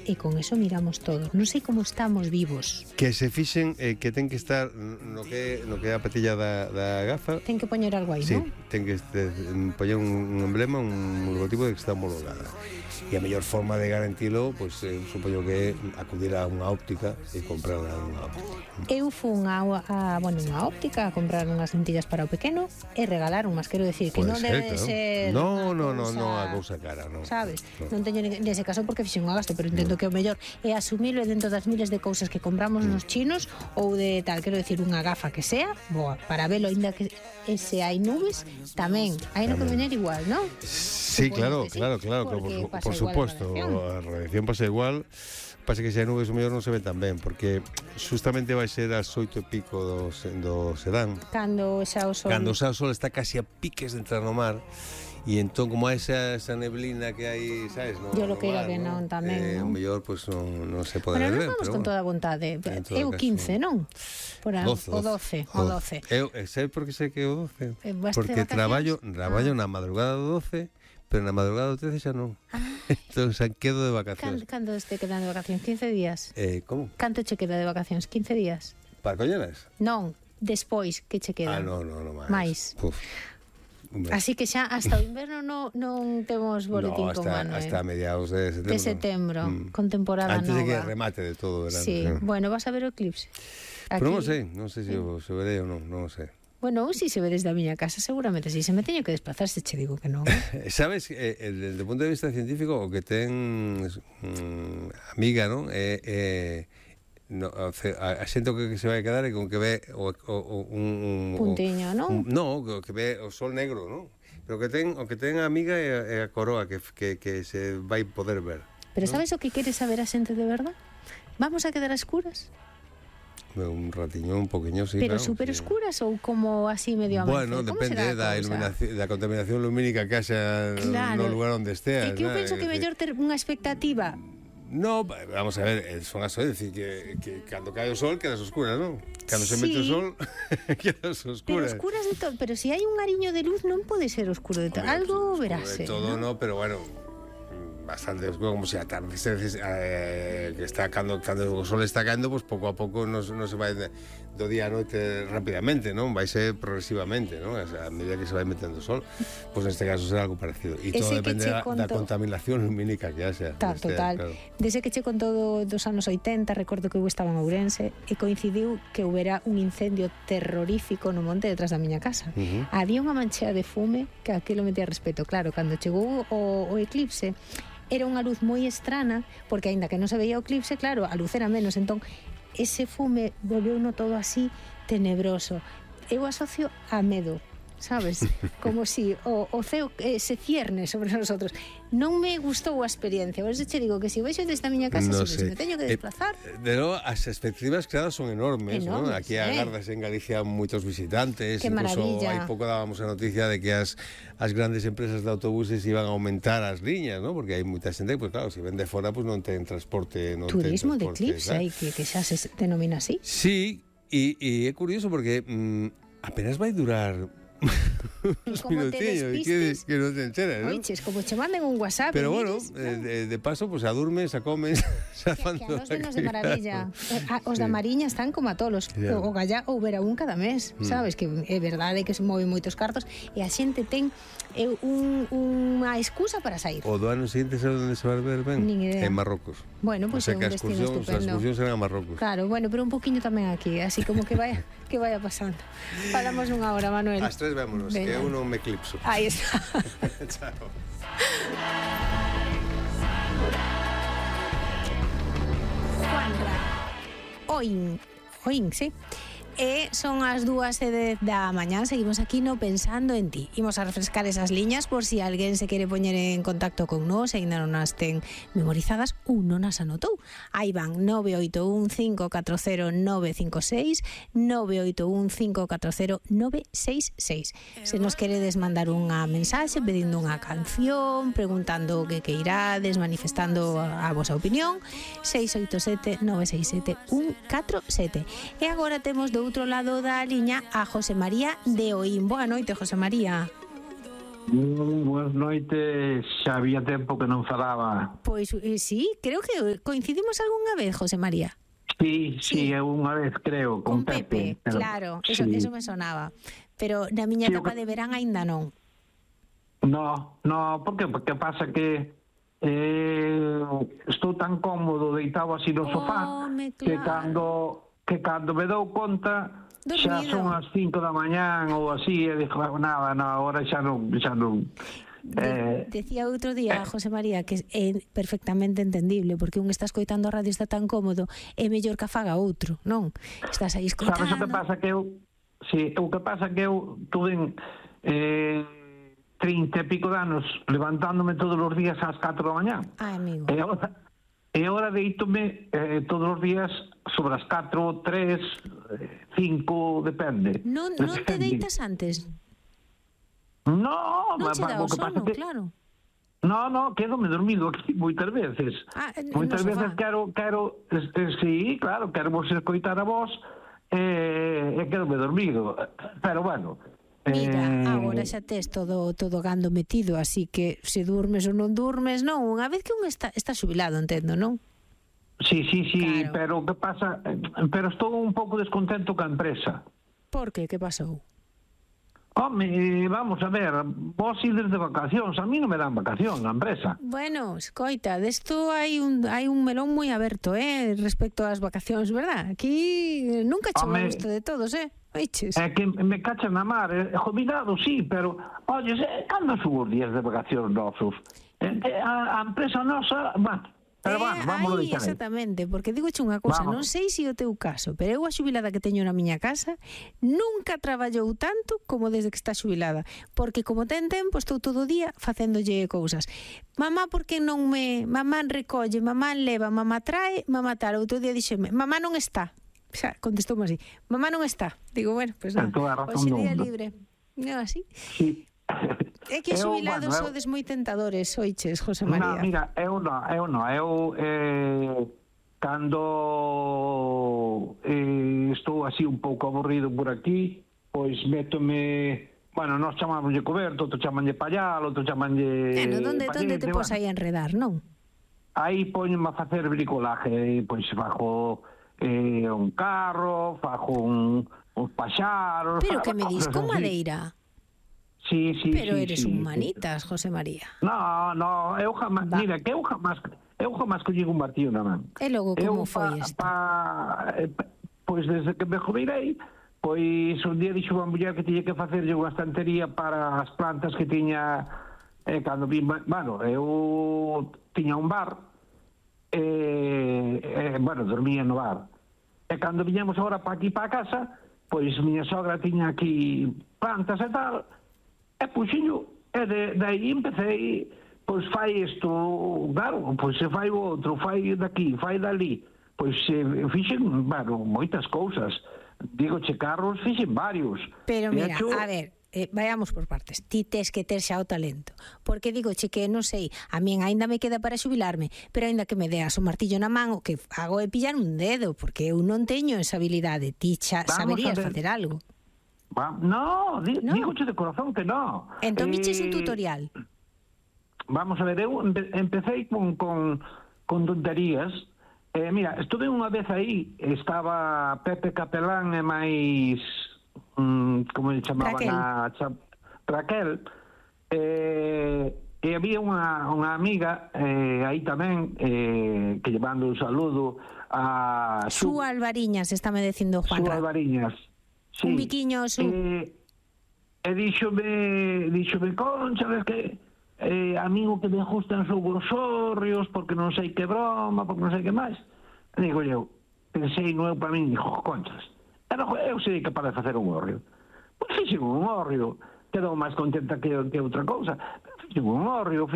e con eso miramos todos. Non sei como estamos vivos. Que se fixen que ten que estar no que é a patilla da gafa. Ten que poñer algo aí, sí, non? Ten que poñer un emblema, un logotipo de que está homologada. E a mellor forma de garantilo, pois supoño que é acudir a unha óptica e comprar unha óptica. Eu fun a unha óptica a comprar unhas lentillas para o pequeno e regalar unhas, quero decir, que non debe de ser a cousa cara, non. Sabes? Non teño nese caso porque fixen un gasto, pero entendo que o mellor é asumirlo dentro das miles de cousas que compramos nos chinos ou de tal, quero decir, unha gafa que sea boa, para velo, ainda que se hai nubes, tamén hai no que vener igual, non? Sí, claro, por suposto, a radiación pasa igual. Pasa que se hai nubes o mellor non se ven tan ben, porque justamente vai ser as 8:00 do serán. Cando xa o sol está casi a piques de entrar no mar. E entón, como hai esa neblina que hai, sabes, no? Yo lo que era que non tamén, non? O mellor, pois, non se pode ver ben. Bueno, non vamos con toda a vontade. É o 15, non? O 12. Eu sei por que sei que é o 12. Porque traballo na madrugada do 12, pero na madrugada do 13 xa non. Entón, xa quedo de vacacións. Canto te quedan de vacacións? 15 días? Como? Canto che queda de vacacións? 15 días? Para colleras? Non, despois que che queda. Non, máis. Así que xa hasta o inverno non temos boletín con Manuel. Hasta mediados de setembro. Con temporada antes nova. Antes de que remate de todo o verano. Sí, bueno, vas a ver o eclipse. Pero non sei se o verei ou non sei. Bueno, si se ve desde a miña casa, seguramente si. Se me teño que desplazar, se che digo que non. Sabes, desde o punto de vista científico, o que ten amiga, non? A xente que se vai quedar é con que ve un puntiño, non? Non, que ve o sol negro, non? Pero o que ten a amiga é a coroa que se vai poder ver. Pero sabes o que quere saber a xente de verdad? Vamos a quedar a escuras? Un ratiño, un poquinho, sí. Pero claro, super escuras ou como así medio amanecer? Bueno, depende da iluminación, da contaminación lumínica que haxa no lugar onde estea. É que eu penso que mellor ter unha expectativa. No, vamos a ver, son as decir que cando cae o sol quedas oscuras, non? Cando se mete o sol quedas oscuras. Pero oscuras de todo, pero se hai un ariño de luz non pode ser oscuro de todo. Algo verase. De todo no, pero bueno, bastante oscuro, como se atardece que está cando o sol está caendo, pues pouco a pouco non se vai do día a noite rapidamente, non? Vai ser progresivamente, non? A medida que se vai metendo o sol, pues neste caso será algo parecido. E todo depende da contaminación lumínica que haxa. Total. Claro. Desde que che contou dos anos 80, recordo que eu estaba en Ourense e coincidiu que houbera un incendio terrorífico no monte detrás da miña casa. Había unha manchea de fume que aquilo metía respeto. Claro, cando chegou o eclipse, era unha luz moi estrana, porque aínda que non se veía o eclipse, claro, a luz era menos, entón ese fume volveuno todo así tenebroso. Eu asocio a medo, sabes? Como si o ceo se cierne sobre nosotros. Non me gustou a experiencia. Por eso che digo que se vexo desde a miña casa, se me teño que desplazar. De logo, as expectativas creadas son enormes, ¿no? Aquí agardas en Galicia moitos visitantes. Que maravilla. Hai pouco dábamos a noticia de que as grandes empresas de autobuses iban a aumentar as liñas, ¿no? Porque hai moita xente, pues claro, se ven de fora, pues non ten transporte. Turismo de eclipse, que xa se denomina así. Sí, e é curioso porque apenas vai durar uns minutinhos que non te enteras, ¿no? Oiches, como che manden un WhatsApp. Pero bueno, de paso, pues a durmes, a comes, que a nos venos de maravilla. Os da Mariña están como a tolos. O gallá ou vera un cada mes, sabes? Que é verdade que se moven moitos cartos e a xente ten unha excusa para sair. O do ano seguinte sabe onde se vai ver ben? Nin idea. En Marrocos. Bueno, pues é un destino estupendo. As excursións serán a Marrocos. Claro, bueno, pero un poquinho tamén aquí, así como que vaya pasando. Falamos unha hora, Manuel. As tres vémonos, que eu non me eclipso. Aí está. Chao. Juanra. Oín, sí. E son as 2:10 da mañá. Seguimos aquí no Pensando en Ti. Imos a refrescar esas liñas por si alguén se quere poñer en contacto con nós e ainda non as ten memorizadas ou non as anotou. Aí van: 981-540-956, 981-540-966. Se nos queredes mandar unha mensaxe pedindo unha canción, preguntando o que queirades, manifestando a vosa opinión, 687-967-147. E agora temos do outro lado da liña a José María de Oín. Boa noite, José María. Boas noites, xa había tempo que non falaba. Pois sí, creo que coincidimos algunha vez, José María. Sí, unha vez creo, con Pepe, pero, claro, sí. eso me sonaba. Pero na miña Sí, etapa de verán aínda non. No, por que? Porque pasa que estou tan cómodo deitado así no sofá Claro. que cando me dou conta xa Dormido. son as 5 da mañán ou así, e dixo, nada, agora xa non. Decía outro día, José María, que é perfectamente entendible, porque un está escoitando a radio, está tan cómodo, é mellor que faga outro, non? Estás aí escoitando. Sabes o que pasa que eu tuve 30 e pico de anos levantándome todos os días ás 4 da mañán. Ai, amigo. E agora deítome todos os días sobre as 4, 3, 5, depende. Non te deitas antes? No, Non che dá o sono, que... claro. No, quedo-me dormido aquí moitas veces. Moitas veces quero, sí, claro, quero vos escoitar a vos e quedo-me dormido. Pero bueno... Mira, agora xa tes todo gando metido, así que se durmes ou non durmes, non, unha vez que un está xubilado, entendo, non? Sí, Claro. pero que pasa? Pero estou un pouco descontento ca empresa. Por que? Que pasou? Home, vamos a ver, vos ides de vacacións, a mí non me dan vacacións na empresa. Bueno, escoita, desto hai un melón moi aberto, respecto ás vacacións, verdad? Aquí nunca chegou a gusto de todos, Oiches? É que me cachan na mar, jubilado, sí, pero, olles, cando son os días de vacacións nosos? A empresa nosa, bueno, pero vamos a deixar aí. Exactamente, porque digo unha cousa, non sei se o teu caso, pero eu a xubilada que teño na miña casa nunca traballou tanto como desde que está xubilada, porque como ten tempo estou todo o día facéndolle cousas. Mamá, por que non mamá recolle, mamá leva, mamá trae, mamá tal. Outro día dixeme, mamá non está. Xa, contestoume así, mamá non está. Digo, bueno, pues nada, hoxe día libre. Non así? Sí. É que os xubilados sodes moi tentadores, oiches, José María. No, mira, eu cando estou así un pouco aburrido por aquí, pois métome, bueno, nós chamámoslle coberto, outro chamanlle pallal, outro chamanlle... Donde te pos aí a enredar, non? Aí poñome a facer bricolaje, pois fajo un carro, fajo uns paxaros... Pero que me dis, con madeira? Sí. Pero eres un manitas, José María. No, eu jamás, mira, que eu jamás collín un martillo na man. E logo como foi isto? Pois desde que me jubilei, pois un día dixo unha muller que tiña que facerlle unha estantería para as plantas que tiña cando vim, bueno, eu tiña un bar bueno, dormía no bar. E cando viñamos agora para aquí para a casa, pois miña sogra tiña aquí plantas e tal, e puxinho, e de aí empecé, pois fai isto, claro, pois se fai o outro, fai daqui, fai dali, pois fixen, bueno, moitas cousas, digo, carros fixen varios. Pero mira, a ver, vayamos por partes. Ti tes que ter xa o talento, porque digo que non sei, a min aínda me queda para xubilarme, pero aínda que me deas o martillo na man, o que hago é pillar un dedo, porque eu non teño esa habilidade. Ti xa saberías facer algo. Digoche de corazón que no. Entón viches un tutorial. Vamos a ver, eu empecé con tonterías. Mira, estuve unha vez aí, estaba Pepe Capelán e máis, como le chamaban, Raquel, e había unha amiga aí tamén, que llevando un saludo a Su Alvariñas, estáme dicindo Juan. Su Alvariñas. Sí. Un biquiño, Su. E díxome, Concha, ves que a mí o que me gustan son os hórreos, porque non sei que broma, porque non sei que máis. E digo eu, pensei no eu para mí, dixo, Conchas, eu sei capaz de facer un hórreo. Pois fixen un hórreo, quedou máis contenta que outra cousa. Fixen un hórreo,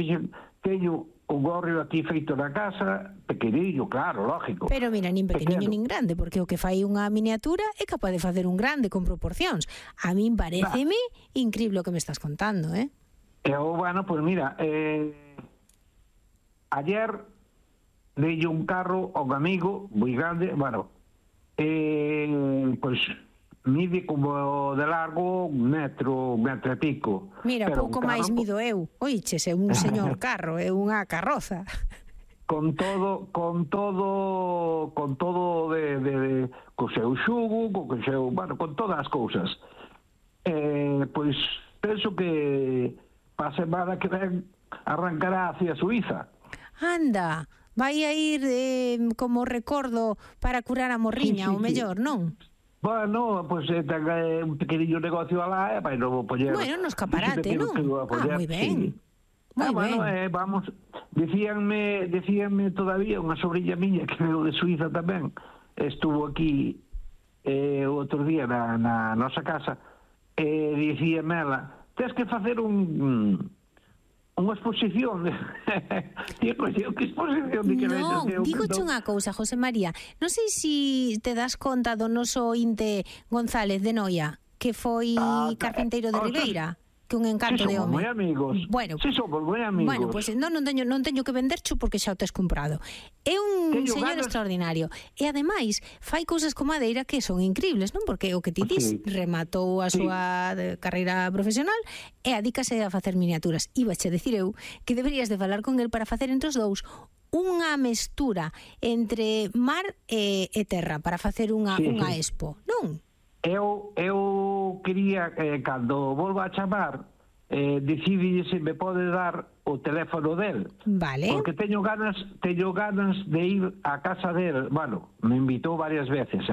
teño un hórreo aquí feito na casa, pequenillo, claro, lógico. Pero mira, nin pequeniño nin grande, porque o que fai unha miniatura é capaz de facer un grande con proporcións. A min pareceme increíble o que me estás contando, Bueno, pues mira, ayer leí un carro a un amigo moi grande, bueno, pues mide como de largo un metro e pico. Mira, Pero pouco un carro máis mido eu. Oiches, é un señor carro, é unha carroza. con todo co seu xugo, co seu, bueno, con todas as cousas. Pois penso que pa semana que ven arrancará hacia Suiza. Anda, vai a ir como recordo para curar a morriña, o mellor, non? Bueno, pois ten un pequeniño negocio alá e vai non poñer. Bueno, no escaparate, non? Moi ben. Moi bueno, ben. Vamos, decíanme todavía unha sobrilla miña que veo de Suiza tamén, estuvo aquí outro día na nosa casa, e dicíame ela, tens que facer unha exposición. Digo, que exposición de que Non, dígoche unha cousa, José María. Non sei se te das conta do noso Inte González de Noia, que foi carpinteiro de Ribeira, que un encanto de home. Moi amigos. Bueno, somos moi amigos. Bueno, pois non teño que vendercho porque xa o tes comprado. É un señor extraordinario. E ademais, fai cousas con madeira que son increíbles, non? Porque o que ti dis, rematou a súa carreira profesional e adícase a facer miniaturas. Ibache decir eu que deberías de falar con el para facer entre os dous unha mestura entre mar e terra para facer unha expo, non? Eu quería, cando volva a chamar, decide se me pode dar o teléfono del. Vale. Porque teño ganas de ir á casa del. Bueno, me invitou varias veces,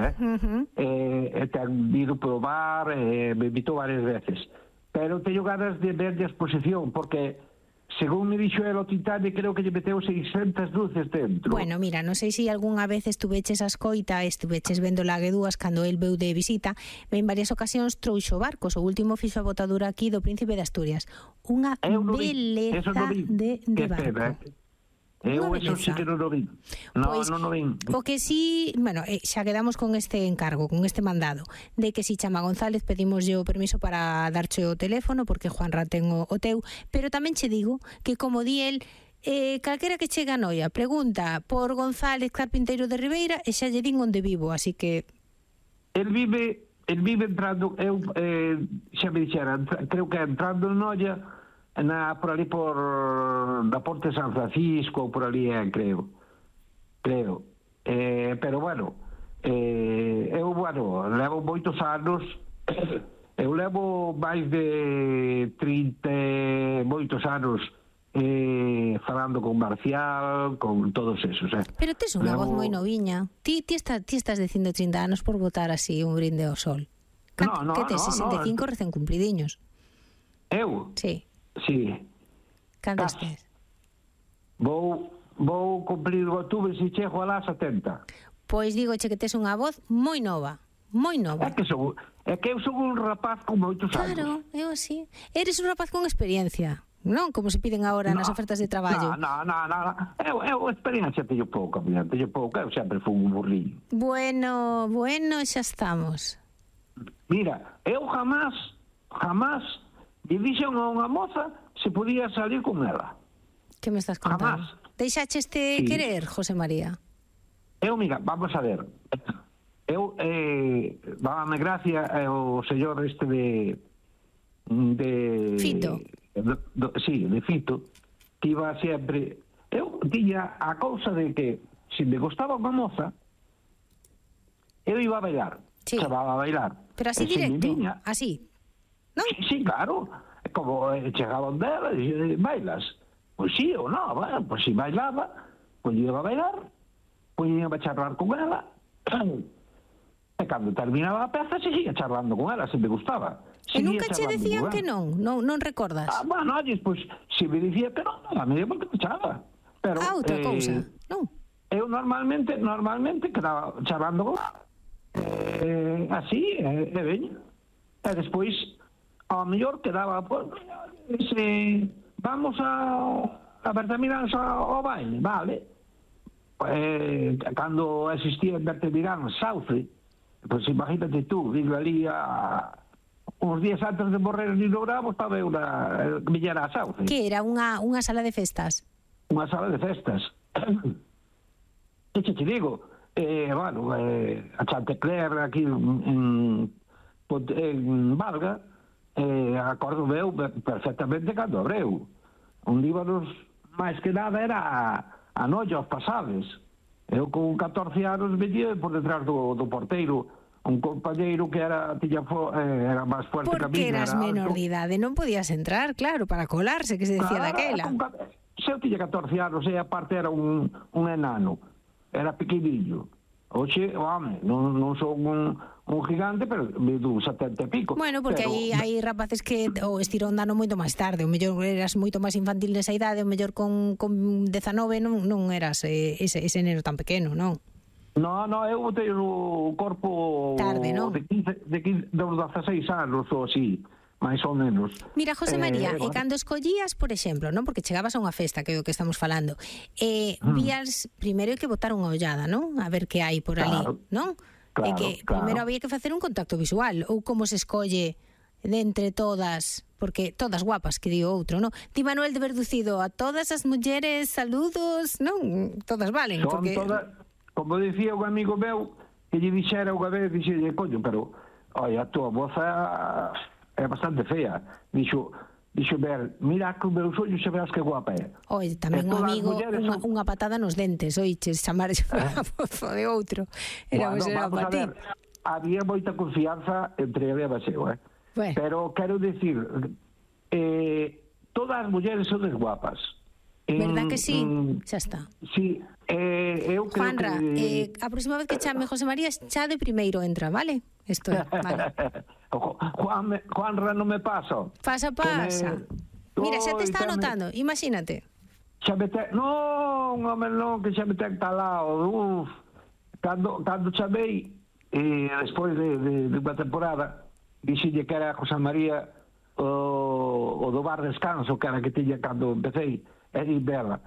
ten ido probar, me invitou varias veces. Pero teño ganas de ver a exposición, porque según me dixo el o Titanic, creo que lle meteu 600 luces dentro. Bueno, mira, non sei se algunha vez estuveches a escoita, estuveches vendo Laguedúas cando el veu de visita, en varias ocasións trouxo barcos, o último fixo a botadura aquí do Príncipe de Asturias. Unha beleza de barco. Eu eso sí que non o vi. Non o vi. O que sí, bueno, xa quedamos con este encargo, con este mandado, de que si chama González pedimos o permiso para darche o teléfono, porque Juanra ten o teu, pero tamén che digo que como di el, calquera que chega a Noia pregunta por González carpinteiro de Ribeira e xa lle din onde vivo, así que El vive entrando, eu xa me dixera, creo que entrando en Noia, por ali por da Ponte San Francisco, por ali creo, pero bueno, eu levo moitos anos, eu levo máis de 30 moitos anos falando con Marcial, con todos esos. Pero tes unha voz moi noviña. Ti estás dicindo 30 anos por botar así un brinde ao sol. Que tes 65 recén cumplidiños. Eu? Sí. Cantos tes? Vou cumplir o outubro se chego alá 70. Pois digoche que tes unha voz moi nova. Moi nova. É que eu son un rapaz con moitos anos. Claro, eu así. Eres un rapaz con experiencia, non? Como se piden agora nas ofertas de traballo. Non. Eu experiencia teño pouca, eu sempre fui un burrillo. Bueno, xa estamos. Mira, eu jamás lle dixen a unha moza se podía salir con ela. Que me estás contando? Jamás. Deixacheste querer, José María? Mira, vamos a ver. Dábame gracia o señor este de Fito. De Fito, que iba sempre. Eu tiña a cousa de que se me gostaba unha moza, eu iba a bailar. Sí. Chamaba a bailar. Pero así directo, así. ¿No? Sí, claro. Como chegaban dela e dixen, bailas? Pois sí ou non, bueno, pois si bailaba, pois iba a bailar, pois iba a charlar con ela, e cando terminaba a peza, seguía charlando con ela, se me gustaba. E nunca che decían que non recordas? Bueno, oye, pois, se me dicía que non, a mí porque me chaba. Pero, outra cousa, non? Eu normalmente quedaba charlando con ela. Así, veña. E despois, ao mellor quedaba, pues, vamos a Bertamiráns ao baile, vale. Cando existía en Bertamiráns Sauce, pues imagínate tú, vivo ali uns días antes de morrer en Nino Bravo, estaba unha millera a Sauce. Que era unha sala de festas? Unha sala de festas. Que te digo, a Chantecler aquí en Valga, acordo eu perfectamente cando abreu. Onde íbanos, máis que nada, era a noite aos pasados. Eu con 14 anos venía por detrás do porteiro, un compañeiro que era máis fuerte que a mí. Porque eras menor de idade, non podías entrar, claro, para colarse, que se decía daquela. Se eu tiña 14 anos e aparte era un enano, era pequenillo. Oxe, home, non son un gigante, pero mido 70 e pico. Bueno, porque hai rapaces que o estirón dano moito máis tarde, o mellor eras moito máis infantil nesa idade, o mellor con 19 non eras ese neno tan pequeno, non? No, eu teño o corpo tarde, non? De 16 anos ou así, máis ou menos. Mira, José María, e cando escollías, por exemplo, non? Porque chegabas a unha festa, que é o que estamos falando, vías, primeiro hai que botar unha ollada, non? A ver que hai por ali, non? Claro, e que primeiro había que facer un contacto visual, ou como se escolle de entre todas, porque todas guapas, que digo outro, non? Di Manuel de Verducido, a todas as mulleres, saludos, non? Todas valen, son porque... todas, como dicía un amigo meu, que lle dixera unha vez, dixelle, coño, pero, oi, a tua moza é bastante fea. Dixo, ver, mira que os meus ollos se verás que guapa é. Oi, tamén un amigo, unha patada nos dentes, oiches, chamarse a mozo de outro. Era para ti. Había moita confianza entre a Beba e eu, Bueno. Pero quero dicir, todas as mulleres son guapas. Verdad que sí? Xa está. Sí, eu creo Juanra, que... a próxima vez que chame José María, xa de primeiro entra, vale? Isto é, vale. Juanra non me pasa. Pasa. Mira, xa te está anotando, imagínate. Xa me ten... Non, home, non, que xa me ten talado. Cando chamei, despois de unha temporada, dixille que era José María o do bar descanso, que era que tiña cando empecéi. E di Bela,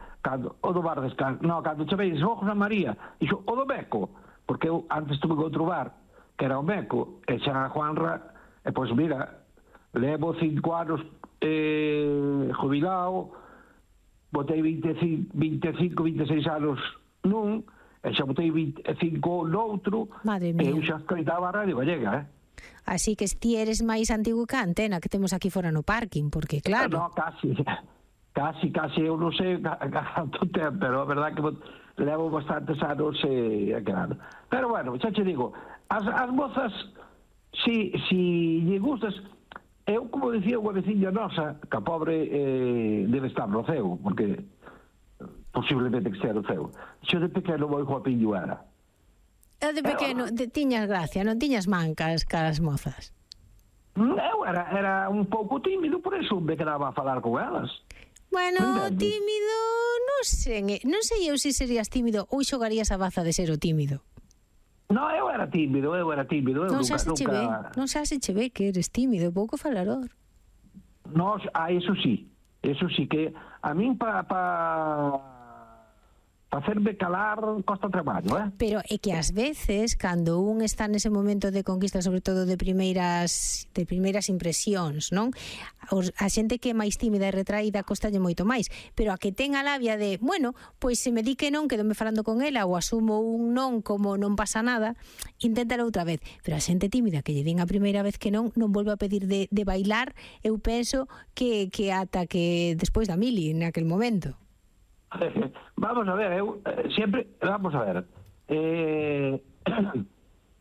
o do bar descanso. Non, cando chamei, dixo, José María, dixo, o do Beco, porque eu antes tuve que outro bar, que era o Meco, e xa a Juanra, e pois mira, levo 5 anos jubilado, botei 25, 26 anos nun, e xa botei 25 noutro, e eu xa escoitaba a Radio Gallega, Así que ti eres máis antigo que a Antena, que temos aquí fora no parking, porque claro... No, casi, eu non sei canto tempo, pero a verdad que levo bastantes anos claro. Pero bueno, xa te digo, as mozas, si lle gustas, eu, como dicía unha veciña nosa, que a pobre debe estar no ceo, porque posiblemente que estea no ceo. Xo de pequeno moi guapiño era. Eu de pequeno tiñas gracia, non tiñas mancas caras mozas? Eu era un pouco tímido, por eso me quedaba a falar con elas. Bueno, tímido, non sei eu se serías tímido ou xogarías a baza de ser o tímido. No, eu era tímido. Non xa se che ve que eres tímido, pouco falador. No, eso sí, que a min para facerme calar costa traballo, Pero é que ás veces, cando un está nese momento de conquista, sobre todo de primeiras impresións, non? A xente que é máis tímida e retraída costalle moito máis, pero a que ten a labia de, bueno, pois se me di que non, quedome falando con ela ou asumo un non como non pasa nada, inténtalo outra vez. Pero a xente tímida que lle din a primeira vez que non volve a pedir de bailar, eu penso que ata que despois da mili naquel momento. Vamos a ver,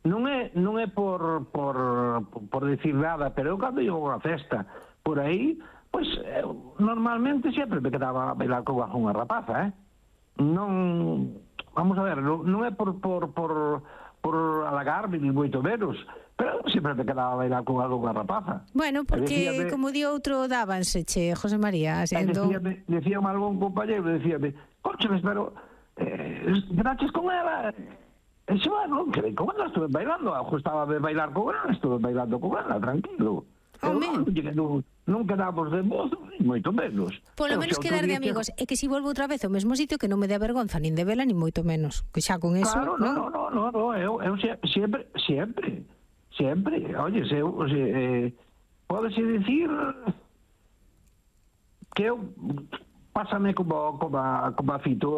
non é por decir nada, pero eu cando iba a unha festa por aí, pois normalmente sempre me quedaba a bailar con unha rapaza, non, vamos a ver, non é por halagarme ni moito menos, pero sempre me quedaba a bailar con unha rapaza. Bueno, porque como di outro, dábanse, José María. Decíame algún compañero, decíame, cóncheles, pero graches con ela. E xo, non quedei con ela, estuve bailando, ajustaba de bailar con ela, estuve bailando con ela, tranquilo. Non quedamos de mozo, moito menos. Polo menos quedar de amigos. É que si volvo outra vez ao mesmo sitio, que non me dé vergonza nin de vela, nin moito menos. Que xa con eso... Claro, no, eu sempre. Oye, pódese dicir que eu pásame como a Fito,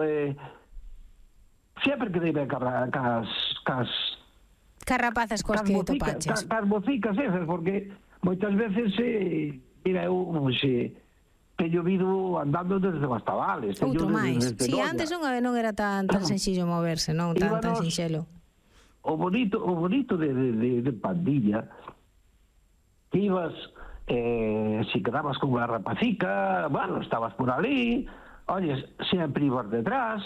sempre que dei ben cas Carrapazas coas que topaches. Cas bocicas esas, porque moitas veces, mira, eu teño vido andando desde Bastavales. Outro máis. Si, antes non era tan sencillo moverse, non? Tan sinxelo. O bonito de Pandilla, que ibas, si quedabas con unha rapacica, bueno, estabas por ali, olles, sempre ibas detrás,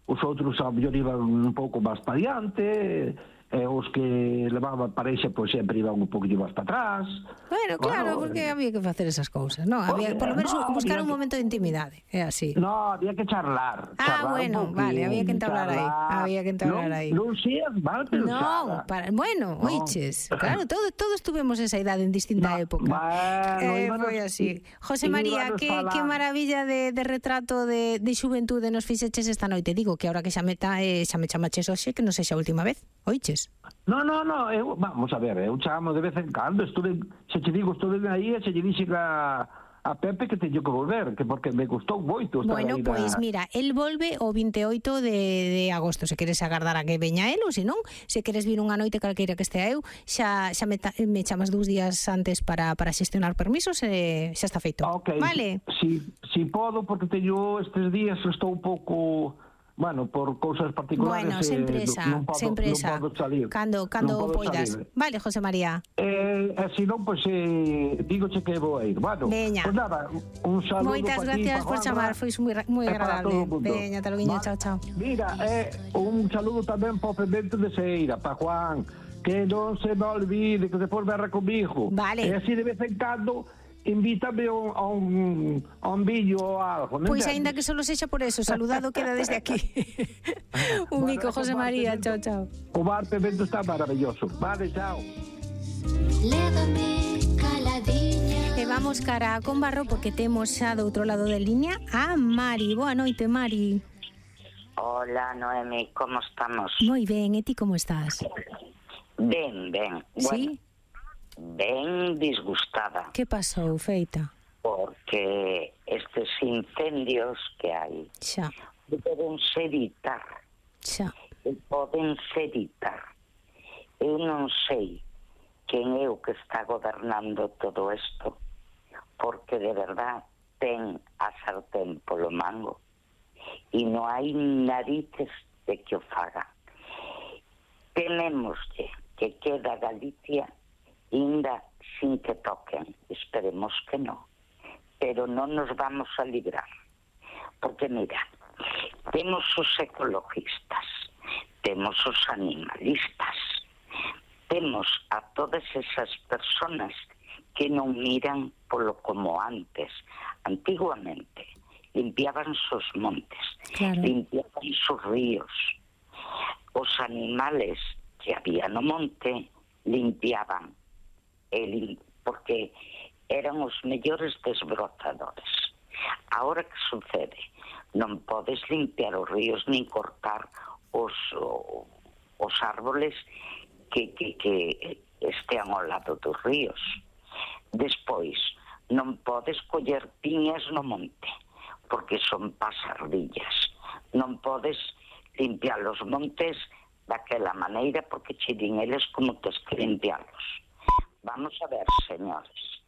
os outros ao mellor iban un pouco máis para diante, os que levaban parexa pois sempre iban un poquinho máis para atrás. Bueno, claro, porque había que facer esas cousas, non? Había, por lo menos, buscar un momento de intimidade, é así. No, había que charlar. Bueno, vale, había que entablar aí. Non seas mal pensada. Bueno, oiches, claro, todos tuvemos esa idade en distinta época. Foi así. José María, que maravilla de retrato de xuventude nos fixeches esta noite. Digo que ahora que xa me chamaches hoxe, que non sexa a última vez, oiches? No, vamos a ver, eu chamo de vez en cando, estuve aí e se lle dixen a Pepe que teño que volver, que porque me gustou moito estar aí. Bueno, pois mira, el volve o 28 de agosto, se queres agardar a que veña el, ou se non, se queres vir unha noite calqueira que estea eu, xa me chamas 2 días antes para xestionar permisos e xa está feito. Okay. Vale? Si podo, porque teño estes días, estou un pouco... Bueno, por cousas particulares... Bueno, sempre esa. Non podo salir. Cando poidas. Vale, José María. Se non, pois dígoche que vou a ir. Bueno, veña. Pues nada, un saludo. Moitas gracias por chamar, foi moi agradable. Veña, te lo guiño, chao. Mira, un saludo tamén para o Pemento de Seira, para Juan, que non se me olvide, que despois verá comigo. Vale. E así de vez en cando... invítame a un vídeo ou algo. Pois aínda que solo sexa por eso, saludado queda desde aquí. Un mico, José María, chao. O bar Pemento está maravilloso. Vale, chao. Lévame caladiña. E vamos cara con Barro porque temos xa do outro lado da liña a Mari. Boa noite, Mari. Hola, Noemi, como estamos? Moi ben, e ti como estás? Ben. Sí? Bueno, ben disgustada. Que pasou, feita? Porque estes incendios que hai podense evitar. Eu non sei quen é o que está gobernando todo isto, porque de verdad ten a sartén polo mango e non hai narices de que o faga. Temémoslle que queda Galicia ainda sin que toquen, esperemos que no, pero non nos vamos a librar, porque mira, temos os ecologistas, temos os animalistas, temos a todas esas personas que non miran polo como antes. Antiguamente limpiaban os montes, limpiaban os ríos, os animales que había no monte limpiaban, porque eran os mellores desbrozadores. Ahora que sucede? Non podes limpiar os ríos nin cortar os árboles que estean ao lado dos ríos. Despois, non podes coller piñas no monte, porque son pasardillas. Non podes limpiar os montes daquela maneira, porque che din eles como tes que limpiarlos. Vamos a ver, señores,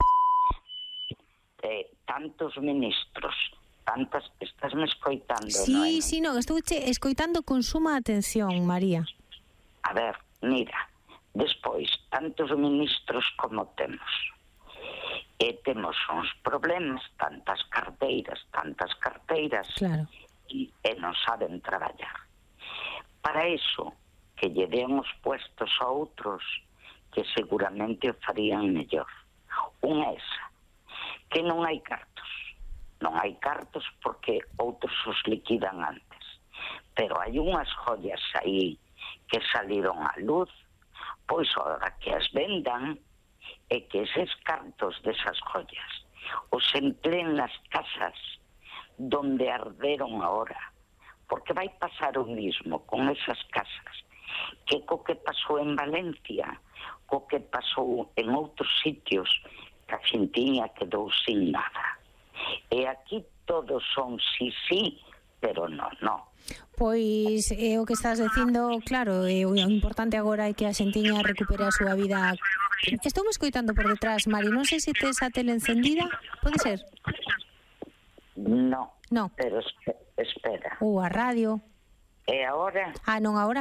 tantos ministros, estásme escoitando, Sí, non, estou escoitando con suma atención, María. A ver, mira, despois, tantos ministros como temos, e temos uns problemas, tantas carteiras, claro, e non saben traballar. Para iso, que lle den os puestos a outros, que seguramente o farían mellor. Unha esa, que non hai cartos porque outros os liquidan antes, pero hai unhas joias aí que saliron á luz, pois agora que as vendan e que eses cartos desas joias os empleen nas casas donde arderon agora, porque vai pasar o mismo con esas casas que co que pasou en Valencia, co que pasou en outros sitios, que a xentiña quedou sin nada. E aquí todos son sí, pero no. Pois o que estás dicindo, claro, o importante agora é que a xentiña recupere a súa vida. Estou me escoitando por detrás, Mari, non sei se tes a tele encendida, pode ser? No. No. Pero espera. Ou a radio. E agora? Non, agora